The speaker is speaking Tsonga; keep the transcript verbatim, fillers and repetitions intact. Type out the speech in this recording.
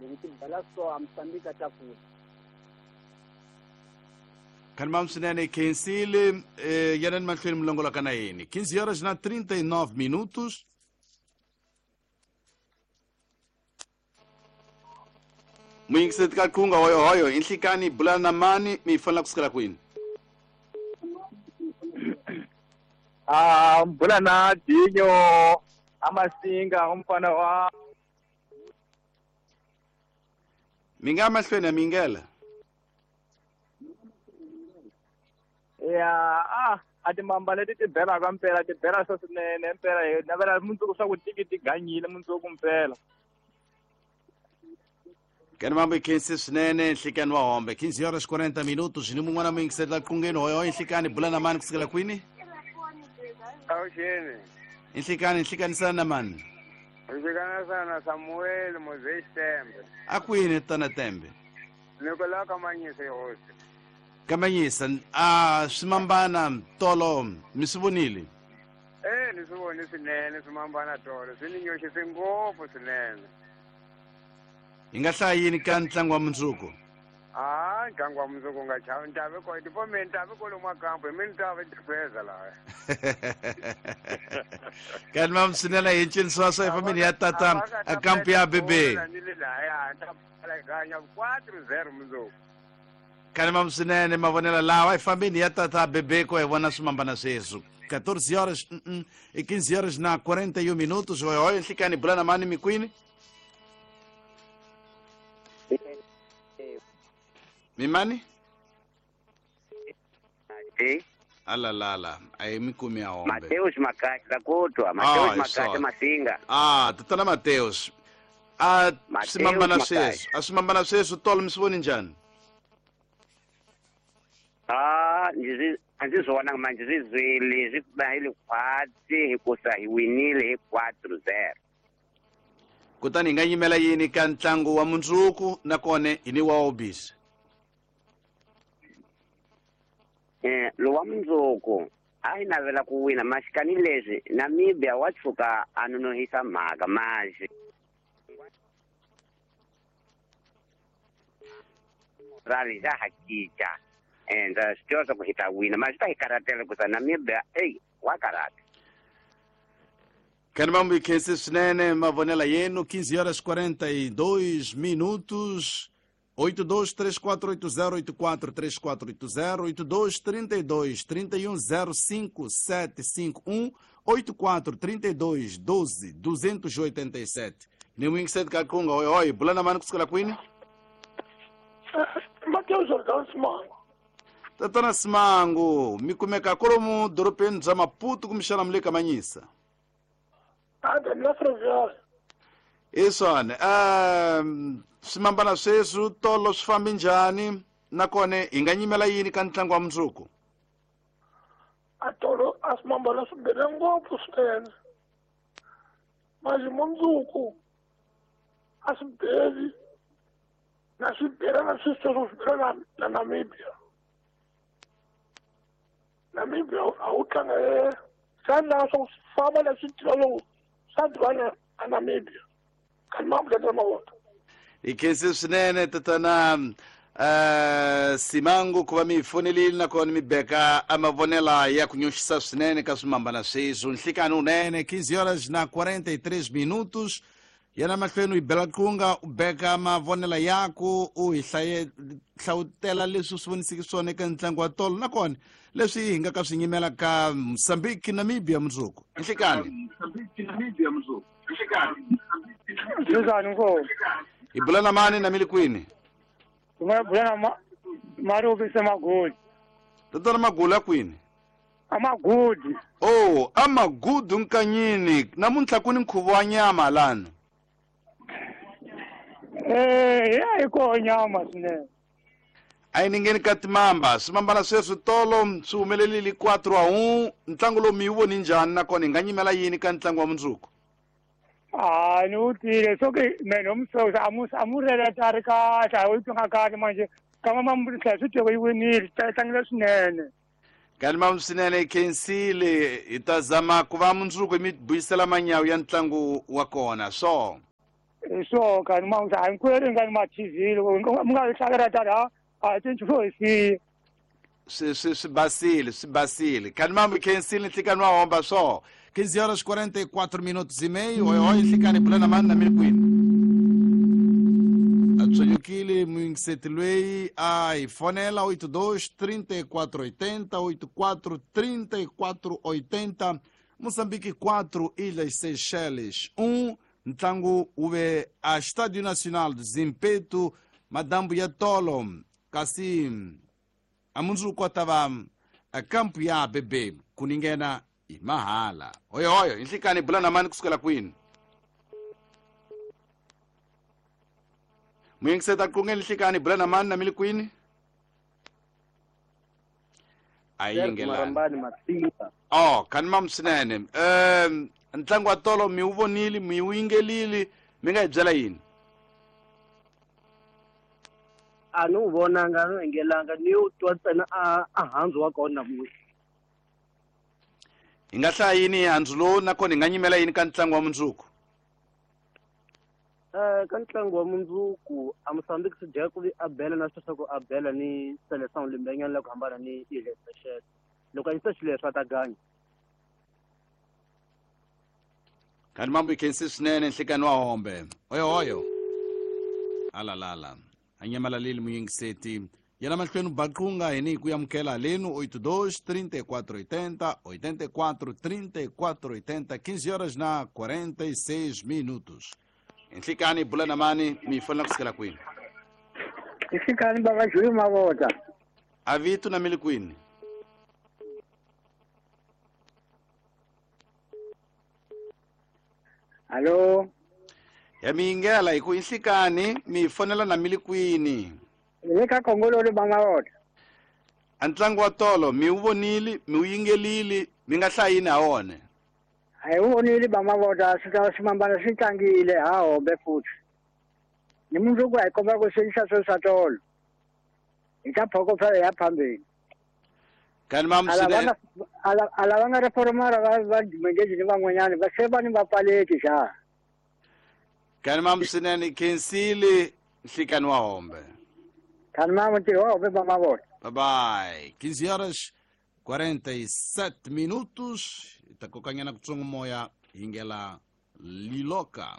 Loko ti bela so a Mozambique a tlakula. Kanimam swinene khensile eh, yanani mahlweni mulongoloka na yini quinze horas na trinta e nove minutos. Muyingiseti ka qhunga hoyohoyo inhlikani bulana na mani mi fanela kusukela kwini? Ah, bula na Dinho Amasinga umfana wa mi nga mahlweni ya mingela. Ya ah a timamba leti ti belaka mpela ti bela swa swinene mpela hi navela mundzuku swa ku tiki ti ganyile mundzuku mpela. Kanimambo khensi swinene nhlikani wa hombe quinze horas quarenta minutos ni mun'wana muyingiseti la qhungeni hoyohoyo nhlikani bula na mani kusukela kwini? Awuxeni. Nhlikani nhlikani na mani? Nhlikani sana Samuel Moses Tembe. A kwini tana Tembe? Nikola Kamanyisa hosi. Kamanyisa a swimambana tolo mi swi vonile? Eh ni swi vone swinene swimambana tolo swi ni nyoxise ngopfu swinene. Hi nga hlaya yini ka ntlangu wa mundzuku? Ah, ntlangu wa mundzuku nga chavi ntavi ko tipome ntavi kwalomu kampo hi mi ntavi tifeza laha. Kanimam swinene hi ncini swa hi famini ya tata a kampo ya bebe. Ganya quatro zero mundzuku. Kanimam swinene mavonelo lawa hi fambeni ya tata bebe ko hi vona swimambana sweswo quatorze horas e quinze horas na quarenta e um minutos. Hoyohoyo nhlikani bula na mani mikwini? Mimani? Eh? Alalala, ayi mikumi ya hombe. Mateus Makati lakotwa, Mateus Makati Masinga. Ah, tatana Mateus. Ah, simambana sweswo. A simambana sweswo tolo mi swi voni njhani? Ah, ndzi a ndzi swi vonanga manje swi zwile swi ba hi le khwatsi hikusa hi winile hi quatro zero. Kutani hi nga yimela yini ka ntlangu wa mundzuku nakona hi ni wa obisi? Eh, lowa mundzuku a hi navela ku wina maxikani leswi Namibia wa tshuka a nonohisa mhaka manje rali za ha cinca and swi tiva swa ku hi ta wina mara swi ta hi karhatela ku sa Namibia eyi wa karhata. Kanimambo khensi swinene mavonela yenu quinze horas quarenta e dois minutos. oito dois três quatro oito zero oito quatro três quatro oito zero, oito dois três dois três um zero cinco sete cinco um, oito quatro três dois doze duzentos e oitenta e sete. Ni sete kakunga oi oi, bulana mani kusukela kwini? Mateus Jordão Simango. Tatana Simango, mikumeka kolomu dorobeni bya Maputo kumixana mle Kamanyisa. Anda na Ferroviária. Isona, um swimambana sweswo tolo swi fambi njhani nakona hi nga nyimela yini ka ntlangu wa mundzuku? A tolo a swimambana swi bele ngopfu swinene. Manje mundzuku a swi beli na swi bela na swi sweswo swi bela na Namibia. Namibia a wu tlanga e xana swo famba leswi tiva loko swa dibana a Namibia. Hi khensi swinene tatana uh, Simango ku va mi fonelile nakona mi beka a mavonela ya ku nyoxisa swinene ka swimambana sweswo. Nhlikani unene quinze horas na quarenta e três minutos. Yana mahlweni u hi bela qunga u beka mavonela yaku u hi hlaye hlawutela leswi swi vonisiki swona eka ntlangu wa tolo nakona leswi hi nga ka swi nyimela ka Mozambique Namibia mundzuku. Nhlikani Njhani mfo? Hi bula na mani na mi le kwini? Bula na ma Marubi Semagudi. Tatana Magula kwini? Amagudi. Oh, amagudu nkanyini. Namuntlha ku ni nkhuvo wa nyama lana. Eh, ya hi koho nyama swinene. A yi ni ngheni ka timamba. Swimambana sweswi tolo swi humelerile quatro a um. Ntlangu lowu mi wu voni njhani nakona hi nga nyimela yini ka ntlangu wa mundzuku? Ah, ni wu twile swo ke mene umsosa amu amureleta a ri kahle a wu twanga kahle manje kama mambutlha swi twe yi winile tlangile swinene. Kanimam swinene khensile hi ta zama ku va mundzuku mi buyisela manyawu ya ntlangu wa kona so. So ka ma sa hinkwenu nga ni ma T V loko mi nga hlakela tata a cinci fo hi siya swi swi swi basile swi basile kani mamu khensile nhlikani wa homba swo quinze horas quarenta e quatro minutos e meio. Oi oi nhlikani bulana mani na mili kwini atsonyukile muyingiseti lweyi a hi fonela oito dois trinta e quatro oitenta oito quatro trinta e quatro oitenta. Moçambique quatro, Ilhas Seychelles um. Ntlangu wu ve a Estádio Nacional do Zimpeto madambu ya tolo kasi a mundzuku a ta va a kampu ya B B ku ninghena hi mahala. Oyo oyo nhlikani bulana mani kusukela kwini muyingiseta qungeni nhlikani bulana mani na mili kwini a yingelani. Oh kani mamu swinene um ntlangu wa tolo mi wu vonile mi wu yingelile mi nga hi byela yini? A ni wu vonanga a ni yingelanga ni wu twa ntsena a a handzu wa kona namuntlha. Hi nga hlaya yini hi handzu lowu nakona hi nga nyimela yini ka ntlangu wa mundzuku? Eh ka ntlangu wa mundzuku a Mozambique swi dya ku vi a bela na sweswo ku a bela ni Seleção limbenyana la ku hambana ni Ilhas Seychelles. Loko a yisa xileswi a ta ganya. Kani mambo ikhensi swinene nhlikani wa hombe. Oyo oyo alalala anyamalali muyingiseti yena mahlweni baqunga hini ku yamukela lenu oito dois trinta e quatro oitenta oitenta e quatro trinta e quatro oitenta quinze horas na quarenta e seis minutos. Nhlikani bulana mani mi fonela kusukela kwini? Nhlikani baba Juli Mavota. Avitu na mili kwini? Allo. Ya miyingela hi ku nhlikani mi fonela na mili kwini? Le ka Kongololo Mavota. A ntlangu wa tolo mi wu vonile mi wu yingelile mi nga hlaya yini ha wona? A hi wu vonile Bamavota swi ta swimambana swi tlangile ha hombe futhi. Ni mundzuku a hi komba ku swi swo swa tolo. Hi ta phokofela ya phambeni. Kani mamu swinene a lava nga reformara va va dimengezi ni van'wanyana va se va ni va pfaleki xa. Kani mamu swinene khensile nhlikani wa hombe. Kani mamu ntirho wa hombe Bamavota. Bye bye. quinze horas quarenta e sete minutos. Takokanyana kutsongo moya hingela liloka.